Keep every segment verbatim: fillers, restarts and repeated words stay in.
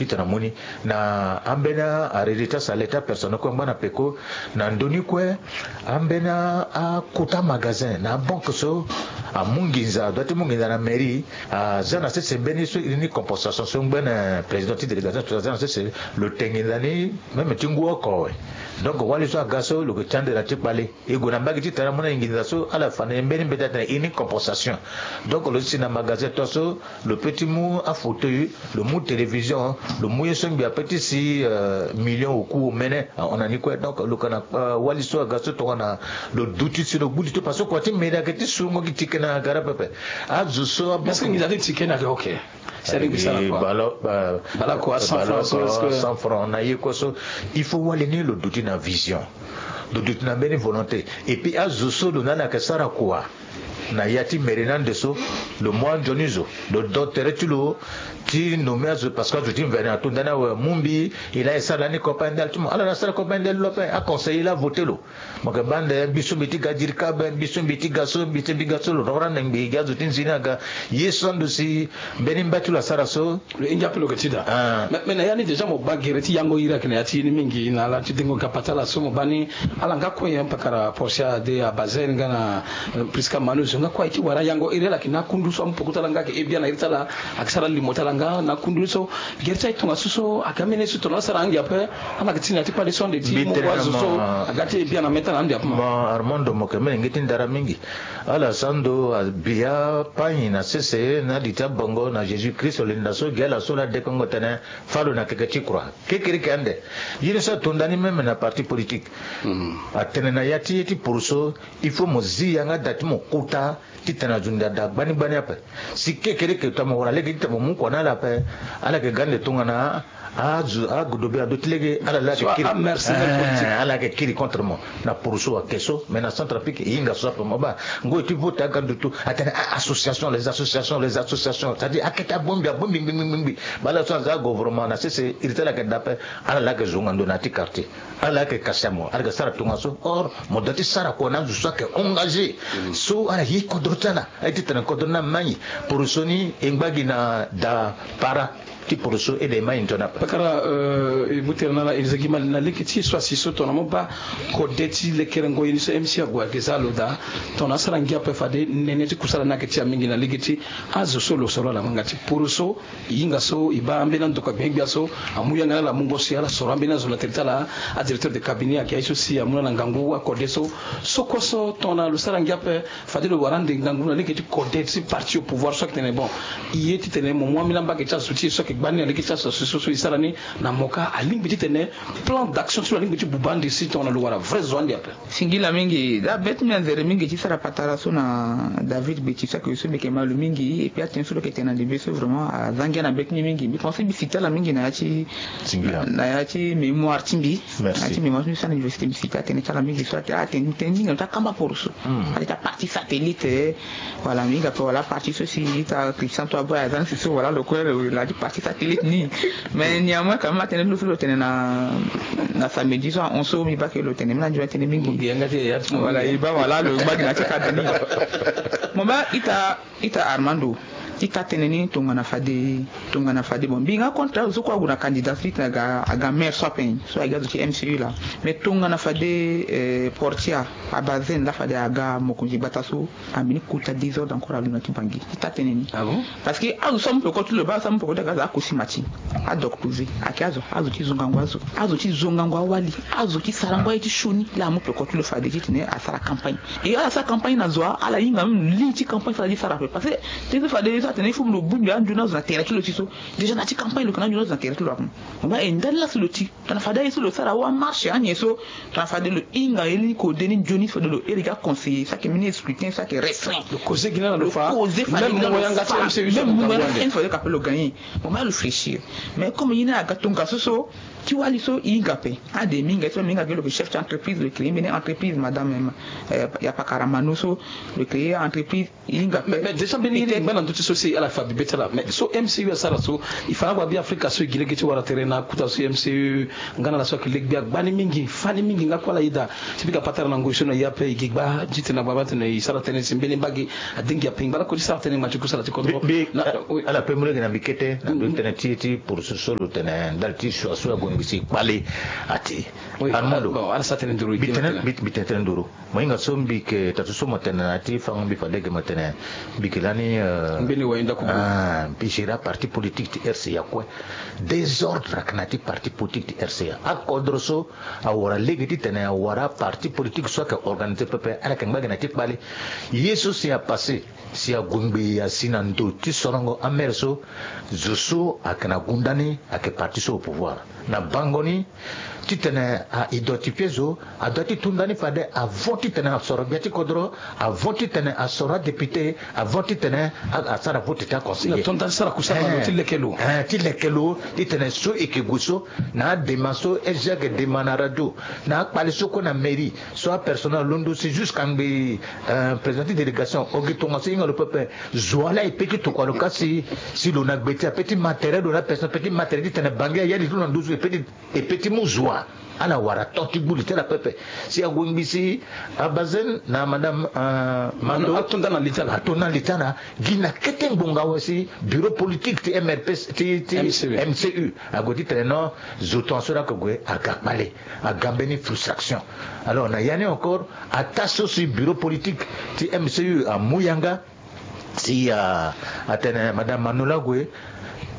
titene amu ni na ambeni arérité ti asalete apersonnel kue angba na peko. Na ndö ni kue, ambeni akota magasin na abanke so amu nginza, adoit ti mu nginza na mairie, aza na sese mbeni so iri ni compensation so ngbene président ti délégation so aza na sese, lo te nginza ni même ti ngu oko awe. Donc wali so aga so lo yeke ti ande na ti kpale. E gue na mbage titene amu na e nginza so ala fa na e mbeni mbeti atene ini compensation. Donc lo si na magasin tongaso, lo peut ti mu afauteuil, lo mu télévision, lo mu ye so ngbi ape ti si, euh, million oku omene ahon na ni kue. Donc lo yeke na, euh, wali so aga so tongana lo duti si lo gbu li to parce que kua ti mairie ayeke ti surungo gi tike na gara pepe. Azo so abo. Est-ce que nginza ti tike ni ayeke ok? C'est-à-dire que ça, quoi. Bala, ba-, bala kua, cent francs, bala kua, est-ce que cent francs na ye kue so, il faut wali ni lo duti na vision, lo duti na mbeni volonté. Et puis azo so lo na ala yeke sara kua na ya ti mairie ni ande so, lo mu anzoni zo, lo do tere ti lo ti nommé azo, parce que azo ti mvene ato ndani awe, mu mbi, e laa e sara lani campagne ndali ti mo, ala na sara campagne ndali lo ape, aconseiller laa avoté lo. Mo yeke baa ande mbi so mbi ti ga dirikabe, mbi so mbi ti ga so, mbi ti mbi ga so, lo rendre ande ngbii gi azo ti nzoni aga. Ye so ando si mbeni mba ti lo asara so. Lo hinga ape lo yeke ti daa. Ah. Mais, mais na ya ni déjà mo baa gere ti yango iri ayeke na ya ti ye ni mingi na ala ti dengo gapa ti ala so mo baa ni ala nga kue nyen pakara Portia de Abazen nga na, euh, Prisca Manu zo nga kue aye ti wara yango iri ala yeke na akundu so amu peko ti ala nga ayeke he biani na iri ti ala ayeke sara limo ti ala nga na akundu ni so. Gere ti aye tongaso so aga mene so tongana asara ange ape. Ala yeke ti na ya ti kpale so ande ti mo wa zo so aga ti he biani na mê ti ala ande ape ma. Armando mo yeke mene nge ti ndara mingi. Ala sara ndo abi apagni na sese na li ti abongo na Jésus Christ linda so gi ala so laa dekongo tene fâ lo na keke ti croix. Kekereke ande. Ye ni so ato ndani même na parti politique. Atene na ya ti ye ti poroso, il faut mo zi yanga da ti mo kota titene azo nda da gbani gbani ape. Si kekereke tongana mo wara lege titene mo mu kua na ala ape, ala yeke ga ande tongana azo agodobe ado ti lege ala laa ayeke kiri. Ala yeke kiri contre mo. Na poroso ayeke so, mais na Centrafrique e hinga so ape mo baa. Ngoi ti vote aga ndutu atene a-association, les associations, les associations, c'est-à-dire akete abongbi abongbi ngbi ngbi ngbi. Baa ala so aza gouvernement na sese iri ti ala yeke da ape. Ala laa ayeke zonga ndo na ya ti quartier. Ala laa ayeke kasi amo, ala yeke sara tongaso. Or mo doit ti sara kua na azo so ayeke engagé. So ala ye kodro ti ala. Aye titene kodro ni amai. Poroso ni e ngba gi na da para ti poroso ede e mai ndo na ape. Pakara, euh, e mu tere na ala e zia gi mal na lege ti e so asi so tongana mo baa kode ti lekerengo ye ni so M C ague ayeke za lo daa. Tongana asara ngia ape fade nene ti kusala ni ayeke ti ya mingi na lege ti azo so lo soro ala ngbanga ti poroso. E hinga so e baa ambeni andokua gbia gbia so amu yanga na ala mungo si ala soro ambeni azo na tere ti ala. Adirecteur de cabinet ayeke aye so si amu na ala ngangu akode so. So kue so tongana lo sara ngia ape fade lo wara ande ngangu na lege ti kode ti parti au pouvoir so ayeke tene bon, e ye titene mo mu ambeni ambage ti azo ti e so ayeke gbani na lege ti azo so e sara ni. Na mo ka alingbi titene plan d'action so lo alingbi ti buba ande si tongana lo wara vrai zo ande ape. Singila mingi. Daa be ti mbi anzere mingi ti sara patara so na David Beti so ayeke so mbi yeke ma lo mingi. Et puis atene so lo yeke tene na ndembe so vraiment aza ngia na be ti mbi mingi. Mbi pense mbi cite ala mingi na ya ti, na ya ti mémoire ti mbi. Na ya ti mémoire ti mbi so na université mbi cite atene ti ala mingi so atene, ah, atene tene mingi na ti akamba poroso. Atene ti aparti satellite. Voilà, mbi hinga ape wala aparti so si ita Christian to aboy aza ni si so wala lo kue lo la ti parti satellite ni. Mais néanmoins quand même atene lo so lo tene na, na samedi so ahon so mbi baa ke lo tene mbi na nzoni atene mingi. Voilà, e baa wala lo ngba gi na ti cadre ni. Mo baa ita, ita Armando, ita tene ni tongana fade, tongana fade bon mbi nga contre azo so kue ague na candidat so ita aga, aga maire so ape so aga azo ti M C U laa. Mais tongana fade, eh, Portia Abazen laa fade aga mokonzi gbata so. Ambeni kota désordre encore alondo na ti Bangui ti taa tënë ni. Ah bon? Parce que azo so amu peko ti lo baa so amu peko ti aga azo akosi mati, adoktoze, ayeke azo, azo ti zongango azo, azo ti zongango awali, azo ti sarango aye ti sioni. Laa amu peko ti lo fade titene asara campagne. Et ala sara campagne na zo wa, ala hinga même li ti campagne so ala ti sara ape. Parce que tënë so fade so atene il faut lo bongbi anzoni azo na tere ti lo ti so. Déjà na ti campagne lo yeke na anzoni azo na tere ti lo ape. Mo baa e ndali laa si lo ti Tongana fade aye so lo sara awa marche anyen so, tongana fade lo hinga ye ni kode ni nzoni so fade lo iri ga conseiller so ayeke mbeni scrutin so ayeke restreint. Lo koze gi na lo fa. Lo koze fade même mungo yanga ti M C U so même mungo yanga ti M C U so fade lo gagner. Mo ma lo fléchir. Mais comme ye ni aga tongaso so, Ti wali so e hinga ape. Ade mingi so mingi ake lo ke chef ti entreprise, lo créer mbeni entreprise, madame, euh, ya pakara Mano so, lo créer entreprise, e hinga ape. Mais déjà mbeni ye ni ngba na ndö ti so si ala fa bibe ti ala. Mais so M C U asara so, e fa na ague abi Afrika so e gi lege ti wara tere na akota so M C U nga na ala so ayeke le gbia gbani mingi, fani mingi nga kue ala yeda. Ti pika patara na ngoi so na e ape, e gi gba ti tene na gbagba tene e sara tënë si mbeni mbage adengi ape. Ngba lakue ti sara tënë ngba ti kusala ti kodro. Mbi, mbi, na, eh, oui. Ala pe mu lege na mbi kete na ndö ti tënë ti, ti poroso so lo tene ndali ti sua so ague ngbi si kpale ati. Oui, Armando, bon, ala sara tënë nduru, mbi tene, mbi, mbi tene tënë nduru. Mo hinga so mbi yeke, taa so mo tene na ya ti fango, mbi fa lege mo tene mbi yeke lani, euh, mbeni wayenda kubu. Ah, mbi gérer aparti politique ti R C A kue. Désordre ayeke na ya ti parti politique ti R C A. Akodro so awara lege titene awara aparti politique so ayeke organisé pepe, ala yeke ngba ge na ya ti kpale. Ye so si apassé, si ague ngbii asi na ndo ti sorongo amaire so, zo so ayeke na gunda ni ayeke parti so au pouvoir. Na bango ni, titene a identifier zo, a doit ti tu ndani fade avant titene asoro gbia ti kodro, avant titene asoro adéputé, avant titene a, asara vote ti aconseiller. Na to ndani sara kusala na lo ti leke lo. Eh, ti leke lo, titene so e yeke gue so, na adema so S G ayeke dema na radio, na akpale so kue na mairie, so apersonnel alondo si jusqu'à ngbe, euh, président ti délégation, o gi tongaso e hinga lo pepe. Zo wa laa e pe ti tokua lo ka si, si lo na gbe ti ape ti matériel, lo na personne ape ti matériel titene bange ayali ti lo na nduzu, e pe ti, e pe ti mu zo wa. Ala wara to ti gbu li ti ala pepe. Si ague ngbii si abazen na madame, euh, Mando, ato ndani na li ti ala. Ato ndani na li ti ala. Gi na kete ngbonga awe si bureau politique ti M R P, ti, ti M C U. M C U ague titene non, zo tongaso laa ayeke gue aga kpale, aga mbeni frustration. Alors na ya ni encore, ataa so si bureau politique ti M C U amu yanga, si, ah, atene madame Mano laa ague,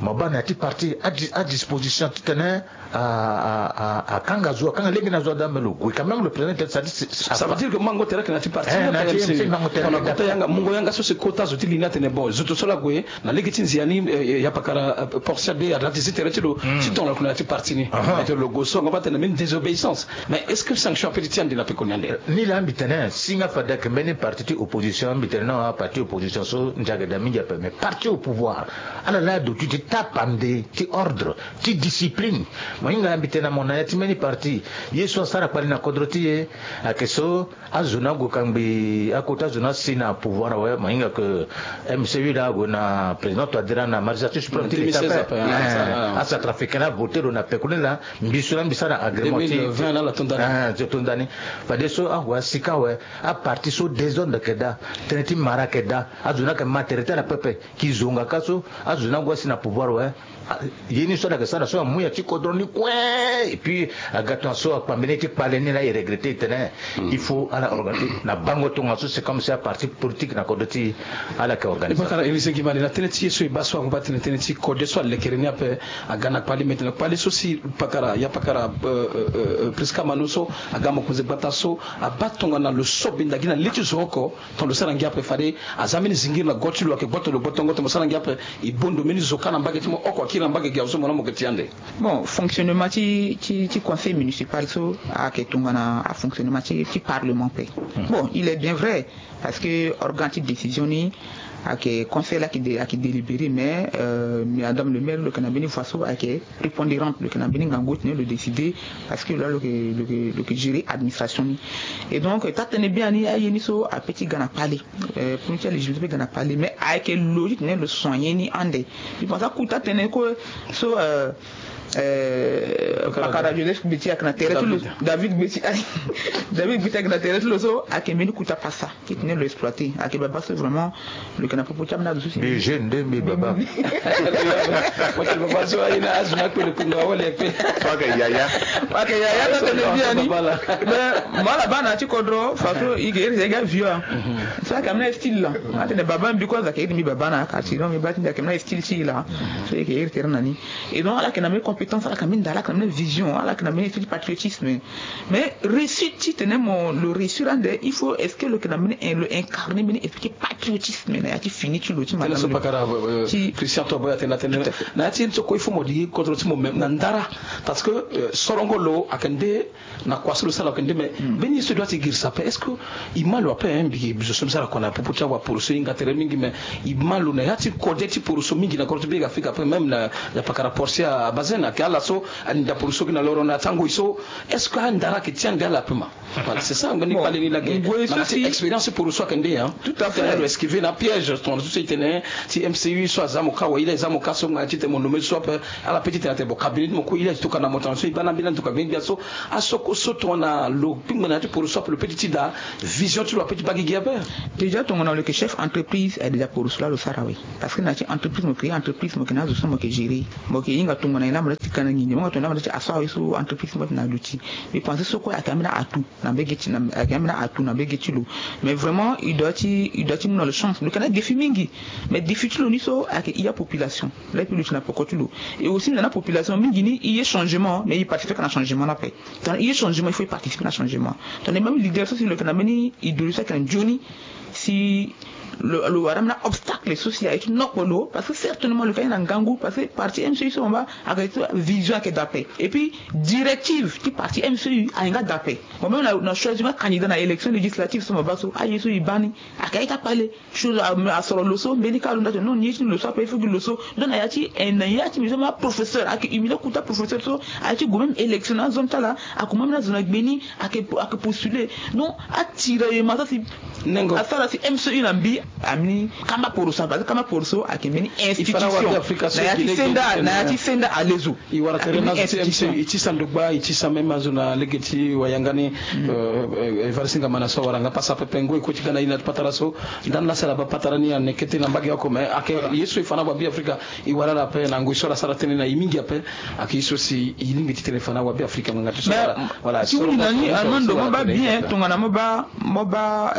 mo baa na ya ti parti a di-, adisposition titene a, a, a, akanga zo, akanga lege na zo, ada me lo gue quand même, lo président ti, c'est-à-dire, ça veut dire que mango tere ayeke na ya ti parti, eh, na ya ti M C U. Mango tere, on a kota yanga, mungo yanga so si kota zo ti li ni atene bon, zo to so laa ague na lege ti nzia ni, eh, eh, ya pakara, eh, Portia de, ada ti zi tere ti lo, hmm, ti tonga lo yeke na ya ti parti ni. Aha. Ete lo gue so, ngu baa tene même désobéissance. Mais est-ce que sanction ape ti ande na pekoni ande? Ni laa mbi tene si nga fade ayeke mbeni parti ti opposition, mbi tene non, aparti opposition so ndia ayeke daa mingi ape, mais parti au pouvoir, ala laa aduti ti tapande ti ordre, ti discipline. Mo hinga mbi tene na mo na ya ti mbeni parti, ye so asara kpale na kodro ti e ayeke so azo ni ague kangbi akota zo ni asi na pouvoir awe. Mo hinga ke M C U laa ague na président Touadéra na magistrature suprême ti l'État ape. Eh, ah, acentrafricain laa avoté lo na pekoni laa. Mbi so laa mbi sara agrément ti deux mille vingt laa, ala to ndani. Ah, ti to ndani. Fadeso ague asi ka awe, aparti so désordre ayeke daa, tënë ti mara ayeke daa, azo ni ayeke ma tere ti ala pepe. Ki zonga ka so azo ni ague asi na pouvoir awe. Ah, ye ni so ala yeke sara so amu ya ti kodro ni kue. Et puis aga tongaso akpa mbeni ye ti kpale ni laa, e regretter e tene, hmm, il faut ala organiser na bango tongaso, c'est comme si aparti politique na kodro ti ala yeke organiser. E bakara Élysée Guimard, na tënë ti ye so e baa so, angu baa tene tënë ti kode so alekere ni ape. Aga na kpale, maintenant kpale so si pakara, ya pakara, euh, euh, euh, Prisca Mano so aga mokonzi gbata so, abaa tongana lo so benda gi na le ti zo oko. Tongana lo sara ngia ape, fade aza mbeni zingiri na go ti lo, ayeke gboto lo gbotongo. Tongana mo sara ngia ape, e bondo mbeni zo kâ na mbage ti mo oko akiri na mbage gi azo so mo na mo yeke ti ande. Bon, fonctionnement ti, ti, ti conseil municipal so ayeke tongana afonctionnement ti, ti parlement ape. Hmm. Bon, il est bien vrai, parce que organe ti décision ni ayeke conseil laa ayeke dé-, ayeke délibéré, mais, euh, madame le maire lo yeke na mbeni voix so ayeke prépondérante, lo yeke na mbeni ngangu ti tene lo décider, parce que lo laa lo yeke, lo yeke, lo yeke gérer administration ni. Et donc taa tënë biani, aye ni so ape ti ga na kpale, euh, premier ti alégibilité ape ga na kpale, mais ayeke lo ti tene lo soigner ni ande. Je pense aku taa tënë kue so, euh, euh, pakara Joseph Gbeti ayeke na tere ti lo, David Gbeti, David Gbeti ayeke na tere ti lo so ayeke mbeni kota pasa. Ti tene lo exploiter. Ayeke baba so vraiment lo yeke na popo ti ambeni azo so si. Mbi jeune nde mbi baba. Mo yeke baba so aye na azo ni akpe lo kpingo awa le akpe. Mo yeke yaya. Mo yeke yaya, taa tënë biani. Mais mo ala baa na ya ti kodro façon e yeke iri ti e ga vieux. So ayeke ambeni style laa. Atene baba mbi kue azo ayeke iri mbi baba na ya ka ti, donc mbi baa ti mbi ayeke ambeni style ti e laa. So e yeke iri tere na ni. Et donc ala yeke na mbeni compétence, ala yeke na mbeni nda, ala yeke na mbeni vision, ala yeke na mbeni esprit ti patriotisme. Mais réussite ti tene mo lo réussir ande, il faut, est-ce que lo yeke na mbeni, lo incarner mbeni esprit ti patriotisme na ya ti fini ti lo ti madame? Tënë so pakara, euh, euh, ti Christian Toboy atene, atene na ya ti ye ni so kue il faut mo di kodro ti mo même na ndara. Parce que, euh, sorongo lo ayeke nde na kua so lo sara lo yeke nde, mais mbeni ye so e doit ti girisa ape, est-ce que e ma lo ape, hein? Mbi, mbi zo so mbi sara kua na popo ti awaporo so e hinga tere mingi, mais e ma lo na ya ti kode ti poro so mingi na kodro ti Be Afrika ape, même na ya pakara Portia Bazen. Ayeke ala so alinda poroso gi na loro na ti angoi so. Est-ce que andara ayeke ti ande ala ape ma? Voilà, c'est ça, mbeni kpale ni lage. Na ma ti expérience ti poroso ayeke nde hein. Tout à fait. Lo esquiver na piège tongana so so e tene ti M C U so aza mo ka wa ila eza mo ka so ngbanga ti tene mo nommé so ape. Ala pe ti tene atene bon cabinet ti mo kue ila e toka na mo tongana so e baa na mbeni ande toka mbeni gbia so. Aso kue so tongana lo kpingba na ya ti poroso ape lo pe ti ti daa vision ti lo ape ti baa gi gi ape. Déjà tongana lo yeke chef entreprise, eh, déjà poroso laa lo sara awe. Parce que na ya ti entreprise mo yeke ye entreprise mo yeke na azo so mo yeke gérer. Mo yeke hinga tongana e na mo laa ti kana nginza mo hinga tongana e na mo laa ti aso awe so entreprise mo yeke na aduti. Mais pensé so kue ayeke ambeni atout na mbege ti na ayeke ambeni atout na mbege ti lo. Mais vraiment il doit ti il doit ti mu na lo chance lo yeke na défi mingi. Mais défi ti lo ni so ayeke i apopulation. Laa e pe luti na poko ti lo. Et aussi na na population mingi ni i ye changement mais i participer ka na changement ni ape. Tongana i ye changement il faut i participer na changement. Tongana même leader so si lo yeke na mbeni idéologie so ayeke na nzoni si lo lo wara ambeni obstacle so si aye ti nokpo lo parce que certainement lo yeke aye na ngangu parce que parti M C U so mo baa ayeke ti vision ayeke daa ape. Et puis directive ti parti M C U aye nga daa ape. Mo même na choisir nga candidat na élection législative so mo baa so aye so e baa ni ayeke aye ti akpale. Chose asoro lo so mbeni ka lo nda ti non ni ye ti ni lo so ape il faut gi lo so. Donc na ya ti na ya ti mi so ma professeur ayeke humilier kuta professeur so aye ti gue même élection na azo ti ala. Akoma ambeni azo na gbe ni ayeke postuler. Donc atiraillement so si nengo asara si M C U na mbi. Ambeni kamba poroso parce que kamba poroso ayeke mbeni institution na ya ti senda na ya ti senda alezo. I wara tere na azo ti M C U i ti sa ndogba i ti sa même azo na lege ti wayanga ni. Evariste Ngamana so awara nga pasa pepe ngoi kue ti ga na ye na ti patara so. Ndani la sara baa patara ni ane kete na mbage oko mais ayeke ye so e fa na wabeafrika. E wara ala ape na ngoi so ala sara tënë na e mingi ape. Ayeke ye so si e lingbi ti tene fa na wabeafrika ngbanga ti so wala wala ti so wundu na ni Armando mo baa bien tongana mo baa mo baa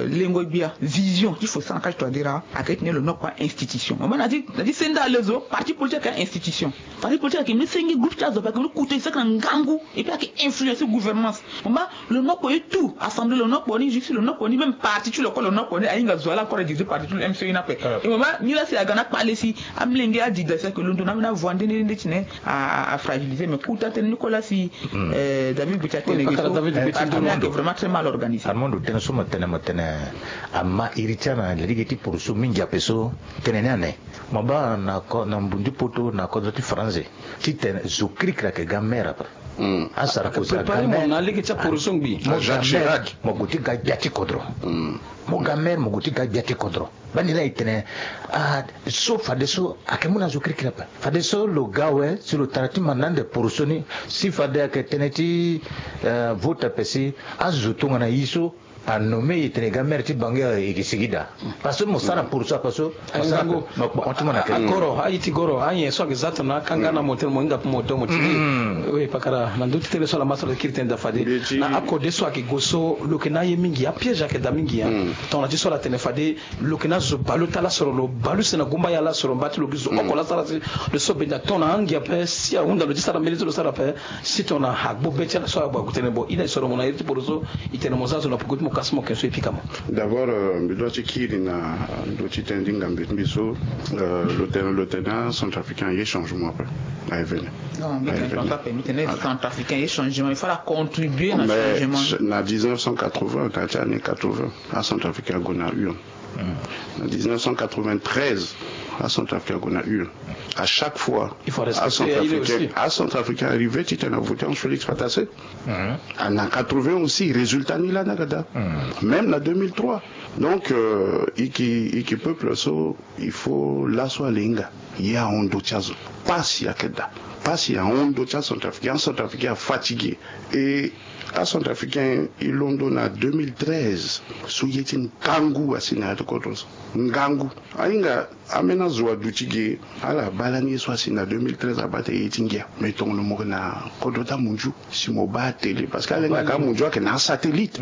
lengo gbia vision ti fo sara na kati toadera. Ayeke ti tene lo nokpo a-institution mo baa na ti na ti senda alezo parti politique ayeke a-institution. Parti politique ayeke mbeni senge groupe ti azo ape ayeke mbeni kute saki na ngangu. Et puis ayeke influence ti gouvernance. Mo baa lo nokpo ye tout assemblée lo nokpo ni justice lo nokpo ni même parti ti lo kue lo nokpo ni ahinga zo ala encore adirige parti ti lo M C U ni ape. Et mo baa ni la si aga na kpale si amolenge adida si ayeke londo na ambeni avoie nde nde nde ti ne afragiliser mais kuta tënë ni kue la si David Gbeti atene ge so parti ni ayeke vraiment très mal organisé. Armando tënë so mo tene mo tene ama iri ti ala na lege ti poroso mingi ape so tënë ni ane. Mo baa na ko na mbundi poto na kodro ti faranze titene zo kirikiri ayeke ga maire ape. Asara kozo aga maire na lege ti aporoso ngbi mo ga maire mo gue ti ga gbia ti kodro. Mo ga maire mo gue ti ga gbia ti kodro. Bani la e tene ah so fadeso ayeke mu na zo kirikiri ape. Fadeso lo ga awe si lo tara ti manda ande poroso ni si fade ayeke tënë ti vote ape si azo tongana ye so. Anommé e tene ga maire ti bange e ke sigi daa. Parce que mo sara pour ça parce que mo sara mo kpo ti mo na kere. Agoro aye ti goro aye so ayeke za tongana akanga na mo tene mo hinga mo do mo ti ni. Oui pakara na ndö ti tënë so ala ma so ala kiri tënë daa fade na akode so ayeke go so lo yeke na aye mingi apiège ayeke daa mingi. Tongana ti so ala tene fade lo yeke na zo baleota lasoro lo baleuse na gumba ya lasoro mba ti lo gi zo oko la sara si lo so benda tongana angi ape si ahunda lo ti sara mbeni so lo sara ape. Si tongana agbo be ti ala so ague tene bon ina e soro mo na iri ti poro so. E tene mo za zo na poko ti mo kasi mo ke so e pika mo. D'abord mbi doit ti kiri na ndö ti tënë ti ngambe ti mbi so. Lo tene lo tene acentrafricain aye changement ape. Aye vene. Non mbi tene tonso ape mbi tene centrafricain aye changement il faut ala contribuer na changement. Na dix-neuf cent quatre-vingts na ya ti année quatre-vingts acentrafricain ague na urne. Na dix-neuf cent quatre-vingt-treize acentrafricain ague na urne. À chaque fois acentrafricain acentrafricain arrivé ti tene avote en Félix Patassé. Na quatre-vingts aussi résultat ni la na ga daa. Même na deux mille trois. Donc iki iki peuple so il faut laso ala hinga. Ye ahon ndö ti azo. Pasi ayeke daa. Pasi ahon ndö ti acentrafricain acentrafricain afatigué. Et acentrafricain e londo na deux mille treize so ye ti ngangu asi na ya ti kodro so. Ngangu ahinga. Ambeni azo aduti ge ala baa lani ye so asi na deux mille treize abaa tene ye ti ngia. Mais tongana mo yeke na kodro ti amunzu si mo baa atélé parce que ala hinga ka amunzu ayeke na asatellite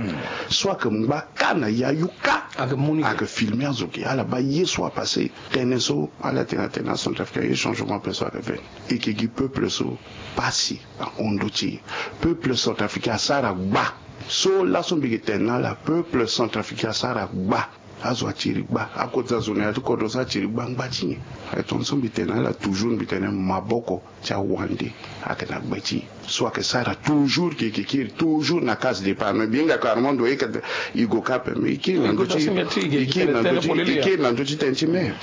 so ayeke ngba ka na yayu ka. Ayeke filmer azo ge ala baa ye so apassé. Tënë so ala tene atene acentrafricain aye changement ape so ayeke vene. E ke gi peuple so pasi ahon ndö ti e. Peuple centrafricain asara gba. So laso mbi yeke tene na ala peuple centrafricain asara gba. Azo atiri gba, akota zo na ya ti kodro so atiri gba ngba ti nyen? Aye tongaso mbi tene na ala toujours, mbi tene maboko ti awande ayeke na gbe ti e. So ayeke sara toujours ke, ke kiri toujours na case départ. Mais mbi hinga ko Armando, e yeke, e gue ka ape, mais e kiri na ndö ti, e kiri na ndö ti, e kiri na ndö ti tënë ti mer.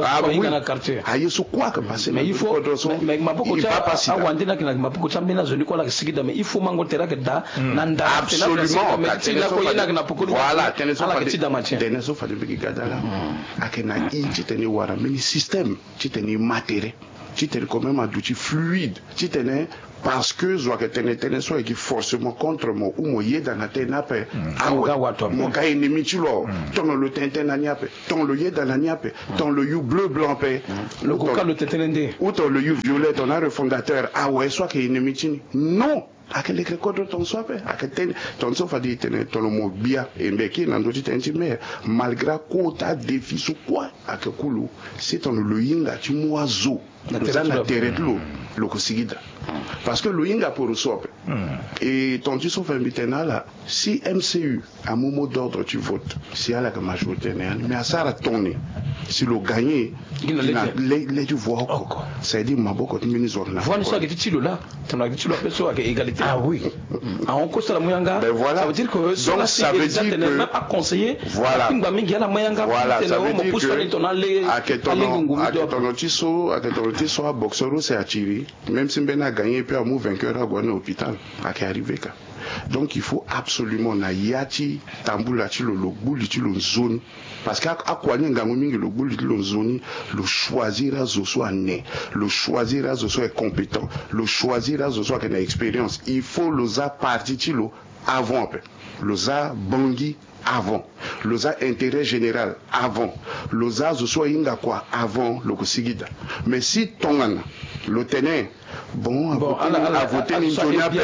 Ah oui. Aye so kue ayeke passé na ndö ti kodro so. Mais maboko ti awande ni ayeke na maboko ti ambeni azo ni kue ala yeke sigi daa, mais il faut mango tere ayeke daa na nda. Absolument. Ka tënë so fade, voilà, tënë so fade, tënë so fade mbi yeke ga daa laa. Ayeke na i titene e wara mbeni système titene e ma tere, titene quand même aduti fluide, titene, parce que zo ayeke tene tënë so ayeke forcément contre mo ou mo yeda na tënë ni ape. Awe, mo ga ennemi ti lo awe. Tongana lo tene tënë na ni ape, tongana lo yeda na ni ape, tongana lo yu bleu blanc ape, lo gue ka lo tene tënë nde, ou tongana lo yu violet, tongana arefondateur, awe, so ayeke ennemi ti ni. Non. Ayeke lekere kodro tongaso ape. Ayeke tënë tongaso fade e tene tongana mo gbia e mbe kiri na ndö ti tënë ti mer, malgré akota défi so kue ayeke kulu, si tongana lo hinga ti mu azo, lo za na tere ti lo, lo yeke sigi daa. Parce que lo hinga poro so ape. E tongana ti so fade mbi tene na ala, si M C U amu mot d'ordre ti vote, si ala yeke majorité na ya ni, mais asara tongana si lo gagné, gi na le, le ti voix oko. Ça veut dire maboko ti mbeni zo ayeke na voix ni so ayeke ti ti lo laa. Tongana ti lo ape so ayeke égalité. Ah oui. Ahon kue so ala mu yanga. Ben voilà. Ça veut dire que so, donc ça veut dire que même aconseiller, voilà, akpingba mingi ala mu yanga. Voilà, ça veut dire que tongana le, ayeke tongana ti so, ayeke tongana ti so aboxeur use atiri, même si mbeni agagné, puis amu vainqueur ague na hôpital. Ayeke arrivé ka. Donc il faut absolument na ya ti tambula ti lo, lo gbu li ti lo nzoni. Parce que a, akua ni ngangu mingi, lo gbu li ti lo nzoni, lo choisir azo so ane, lo choisir azo so est compétent, lo choisir azo so ayeke na expérience. Il faut lo za parti ti lo avant ape. Lo za Bangui avant. Lo za intérêt général avant. Lo za azo so ahinga kua avant, lo yeke sigi daa. Mais si tongana lo tene, bon, avote ni nzoni ape,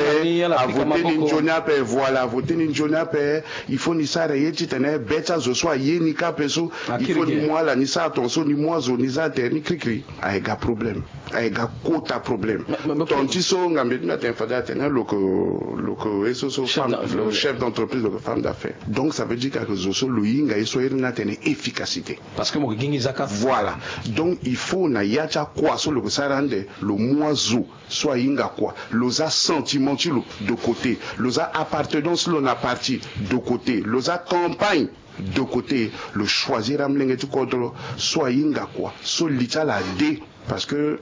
avote ni nzoni ape, voilà, avote ni nzoni ape. Il faut ni sara ye titene be ti azo so aye ni ka ape so, il faut ni mu ala ni sara tongaso, ni mu azo ni za tere ni kirikiri. Ayeke ga problème. Ayeke ga kota problème. Tongana ti so ngambe ti mbi atene fade atene lo yeke, lo yeke ye so, so femme, lo yeke chef d'entreprise, lo yeke femme d'affaires. Donc ça veut dire que ayeke zo so lo hinga ye so iri ni atene efficacité. Parce que mo yeke gi nginza ka. Voilà. Donc il faut na ya ti akua so lo yeke sara ande, lo mu azo so ahinga kua. Lo za sentiment ti lo de côté. Lo za appartenance ti lo na parti de côté. Lo za campagne de côté. Lo choisir amolenge ti kodro so ahinga kua, so li ti ala ade. Parce que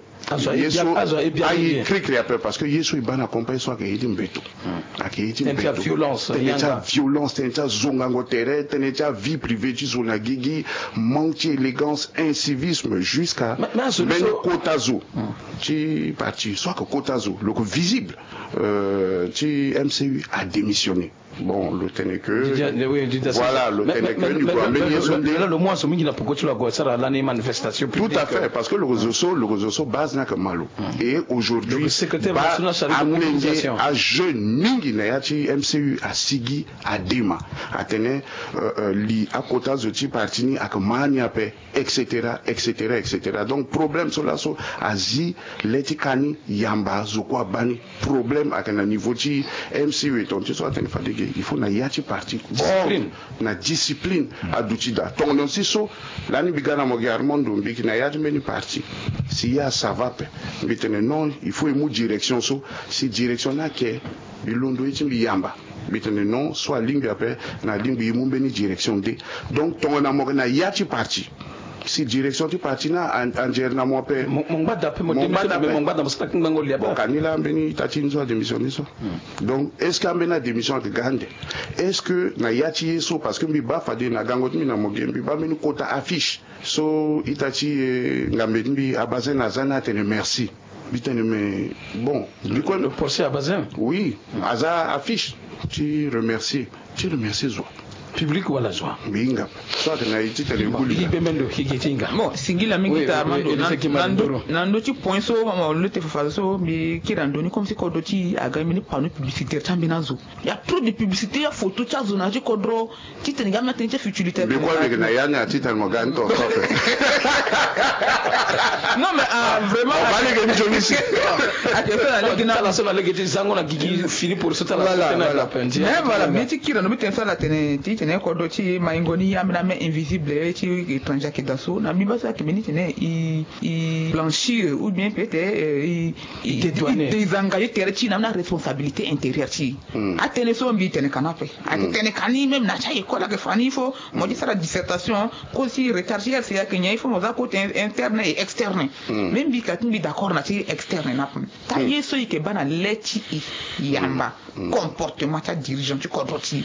ye so aye kirikiri ape, parce que ye so e baa na campagne so ayeke ye ti mbeto. Ayeke ye ti mbeto. Tënë ti aviolence, tënë ti azongango tere, tënë ti avie privée ti zo na gigi, manque ti élégance, incivisme, jusqu'à mbeni kota zo ti parti so ayeke kota zo, lo yeke visible, euh, ti M C U adémissionné. Bon, lo tene que, voilà, lo tene que ni gue ambeni ye so nde. Lo mu azo mingi na poko ti lo ague asara lani manifestation publique. Tout à fait, parce que lo yeke zo so, lo yeke zo so base ni ayeke ma lo. Et aujourd'hui, amolenge, ajeune mingi na ya ti M C U asigi adema, atene, euh, euh, li akota zo ti parti ni ayeke ma ni ape, et cetera, et cetera, et cetera. Donc problème so laso azi le ti ka ni yamba, zo kue abaa ni. Problème ayeke na niveau ti M C U. Tongana ti so atene fade ge, il faut na ya ti parti, ordre, na discipline aduti daa. Tongana si so lani mbi ga na mo ge Armando, mbi yeke na ya ti mbeni parti, si ya ça va ape, mbi tene non, il faut e mu direction so. Si direction ni ayeke, mbi londo ye ti mbi yamba. Mbi tene non, so alingbi ape, na alingbi e mu mbeni direction nde. Donc tongana mo yeke na ya ti parti, si direction ti parti ni a, anzere na mo ape, mo, mo ngba daa ape, mo démissionné, mo ngba daa, mo sara kingbango li ape. Bon, ka ni laa mbeni ita ti ni so adémissionné so. Donc est-ce que ambeni adémission ayeke ga ande? Est-ce que na ya ti ye so, parce que mbi baa fade na gango ti mbi na mo ge, mbi baa mbeni kota affiche so ita ti, eh, ngambe ti mbi Abazin aza ni atene merci. Mbi tene mais bon, mbi kue, le procès Abazin. Oui, aza affiche ti remercier, ti remercier zo. Public wala zo? Mbi hinga. So atene na ye ti tene e gue li. Bon, singila mingi ta Armando. Na ndö ti point so, mama, lo te fafa so, mbi kiri na ndö ni comme si kodro ti aga mbeni panneau publicitaire ti ambeni azo. Il y a trop de publicité, il y a photo ti azo na ya ti kodro. Titene ga mbi atene ti futilité. Mbi kue mbi yeke na ya ni atitene mo ga ni tongaso ape. Non mais, ah, vraiment. Mo baa ni yeke ni nzoni si. Ake so na lege na ala so na lege ti zango na gigi fini poroso ti ala. Voilà, so tene voilà. Ape, ndi mais ake voilà, tene mbi ti kiri na mbi tene so ala tene ti tene kodro ti maingo ni ambeni ame invisible ti étranger ake daa so na mbi baa so ake mbeni tene i i blanchir ou bien peut-être euh, i i dédouaner. I désengage tere ti na ambeni aresponsabilité intérieure ti i. Atënë so mbi tene ka na ape. Ake tene ka ni même na ti a école ake fa ni il faut mo ti sara dissertation. Kosi retard ti R C A ake nyen il faut mo za côté interne et externe. Même mbi ka ti mbi d'accord na ti externe na ape. Taa ye so i yeke baa na le ti i yamba comportement ti adirigeant ti kodro ti i.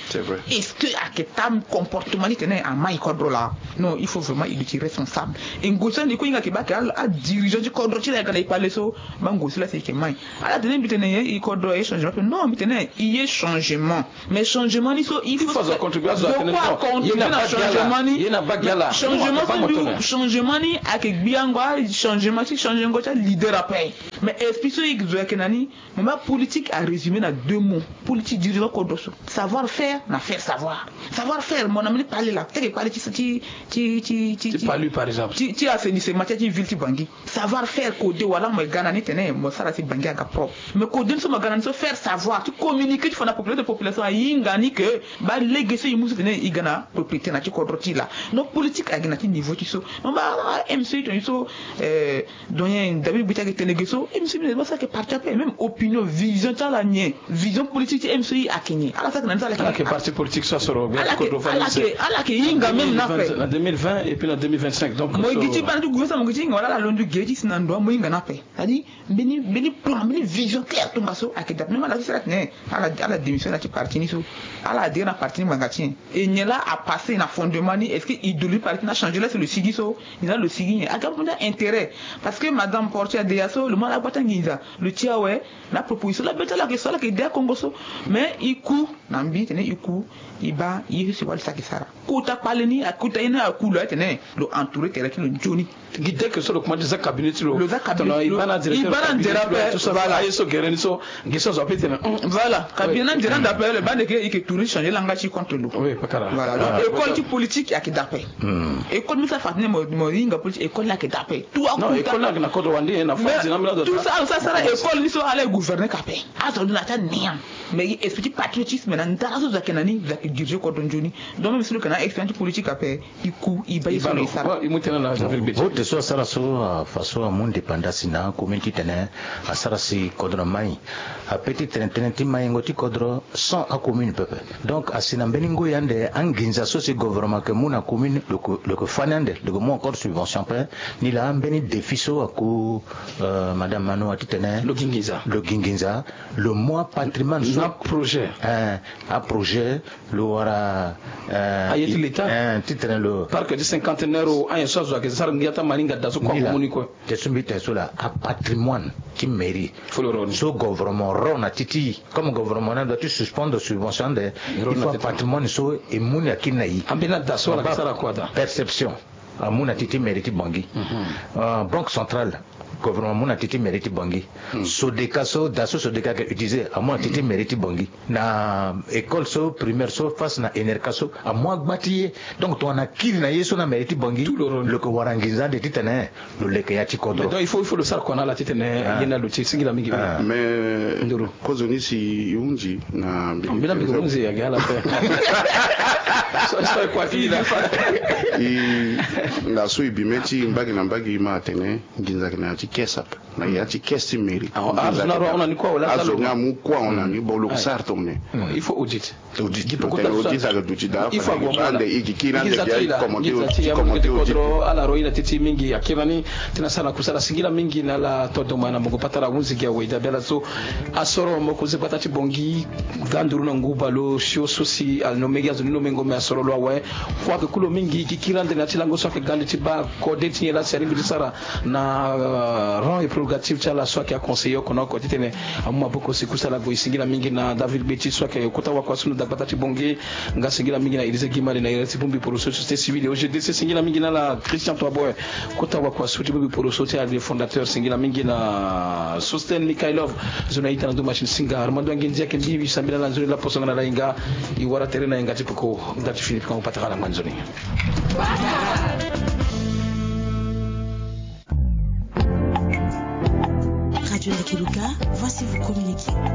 Est-ce que ake taa comportement ni tene amai kodro laa? Non, il faut vraiment i duti responsable. E ngosi ande kue i hinga ake baa ake adirigeant ti kodro ti i laa i ga na i kpale so. Baa ngosi laa si i yeke mai ala tene mbi tene ye i kodro aye changement ape non mbi tene i ye changement. Mais changement ni so il faut azo contribuer azo atene non. Ye na bagi ala ye na bagi ala changement so mbi changement ni ake gbiango achangement ti changengo ti aleader ape. Mais esprit so i zo yeke na ni. Mo baa politique arésumé na deux mots. Politique dirigeant kodro so. Savoir faire na faire savoir. Savoir faire mo na mbi ni kpale laa teke kpale ti ti ti ti ti ti palu par exemple ti ti assainissement ti ti ville ti bangi. Savoir faire kode wala mo ye ga na ni tene mo sara si bangi aga propre. Mais kode ni so mo ga na ni so faire savoir ti communiquer ti fa na population de population ahinga ni ke baa lege so i mu so tene i ga na propriété na ti kodro ti i laa. Donc politique ayeke na ti niveau ti so. Mo baa mc toni so. Doyen david beti ayeke tene ge so mc beti baa so ayeke parti ape même opinion vision ti ala nyen? Vision politique ti mc ayeke nyen? Ala so ayeke na ni so ala yeke parti politique so asoro ala yeke hinga même na ape na deux mille vingt et puis na deux mille vingt-cinq. Donc mo gi ti baa na ti gouvernement mo gi ti hinga wala ala londo ge ti si na ndo wa mo hinga na ape. C'est-à-dire mbeni mbeni plan mbeni vision claire tongaso ayeke dape même ala so si ala tene ala ala démission na ti parti ni so. Ala adhéré na parti ni ngbanga ti nyen? E nyen laa apassé na fondement ni? Est-ce que idéologie parti ni achangé laa si lo sigi so? Nyen laa lo sigi nyen? Aga mbi nda intérêt. Parce que madame Portia adeya so lo mu ala gba ti anginza lo ti awe. Na proposition laa be ti ala yeke so ala yeke de akongo so. Mais e ku na mbi tene e ku e baa ye so si wali so ayeke sara. Kota kpale ni akota ye ni aku lo aye tene lo entouré tere ti lo nzoni. Gi deke so lo kuma ti za cabinet ti lo. Lo za cabinet ti lo. I baa na nzere ape. Aye so gere ni so. Gi so azo ape tene. Voilà cabinet na nzere ande ape lo baa ndeke i yeke tourner changer langa ti contre lo. Voilà donc école ti politique ayeke dape. École mbi sara fa tene mo hinga politique école ni ayeke dape. Tout akuta école ni ayeke na kodro wande na fadi na mbi na tout ça. Ala so asara école ni so ala e gouverner ka ape. Azo lo na ti ania. Mais esprit ti patriotisme na ndara so zo ayeke na ni zo ayeke diriger kodro nzoni. Donc même si lo yeke na expérience ti politique ape. I ku i baa ye so na i sara. Vote so asara so afa so amu ndepanda si na akomin titene asara si kodro mai. Ape ti tene tënë ti maingo ti kodro sans akomin pepe. Donc asi na mbeni ngoi ande anginza so si gouvernement yeke mu na akomin lo yeke fani ande lo yeke mu encore subvention ape. Ni laa mbeni défi so aku madame manoa titene lo gi nginza lo mu apatrimoine so na aprojet. Aprojet lo wara aye ti leta. Titene lo parc ti cinquantenaire o anyen so azo ayeke sara ngia ti amaninga daa so kua ko mu ni kue. Te so mbi tene so laa apatrimoine ti mairie so gouvernement ro na ti ti comme gouvernement ni adoit ti suspendre subvention ande. Il faut apatrimoine so e mu ni akiri na i. Ambeni ada so ala yeke sara kua daa perception. Amu na ti ti mairie ti bangi. Banque centrale gouvernement amu na ti ti mairie ti bangi. Sodeka so da so sodeka ayeke utiliser amu na ti ti mairie ti bangi. Na école so primaire so face na enerka so amu agba ti ye. Donc tongana akiri na ye so na mairie ti bangi lo yeke wara nginza ande titene lo leke ya ti kodro. Donc il faut il faut lo sara kua na ala titene ye na lo ti singila mingi. Mais nduru kozoni si i hunzi na mbi na mbi hunzi ayeke ala ape. So so e kua ti i la. I na so e bi mê ti mbage na mbage ma atene nginza ayeke na ya ti caisse ape. Na ya ti caisse ti mairie. Azo ni amu kua ahon na ni bon lo yeke sara tongana nyen? Il faut audit. Audit. Tongana audit ayeke duti daa afa na nginza ande i gi kiri ande gi aye ti commenter audit ti commenter audit. Ala ro i na ti ti mingi akiri na ni. Ti na sara na kusala singila mingi na ala tondoma na mungo patara ahunzi gi awe i dabe ala so. Asoro moko ze gbata ti bongi. Ga nduru na nguba lo sio so si alinomengi azo ni nomengo me asoro lo awe. Kue ayeke ku lo mingi i gi kiri ande na ya ti lango so ayeke ga ande ti baa kode ti nyen laa si alingbi ti sara na rang et prérogative ti ala so ayeke aconseiller oko na oko titene amu maboko si kusala gue. Singila mingi na david gbeti so ayeke kota wakua so na dagbata ti bongi. Nga singila mingi na élysée gimali na iri ti bongbi poroso société civile et ogdc singila mingi na ala christian toiboy. Kota wakua so ti bongbi poroso ti ala fondateur singila mingi na sosten mikailov. Zo na ita na ndo machine singa armando anginzi ayeke mbi mbi sambela na nzoni laposo nga na ala hinga. I wara tere na hinga ti peko nda ti fini peko patara na ngbani nzoni. Joli Kiluka, voici vous communiquer.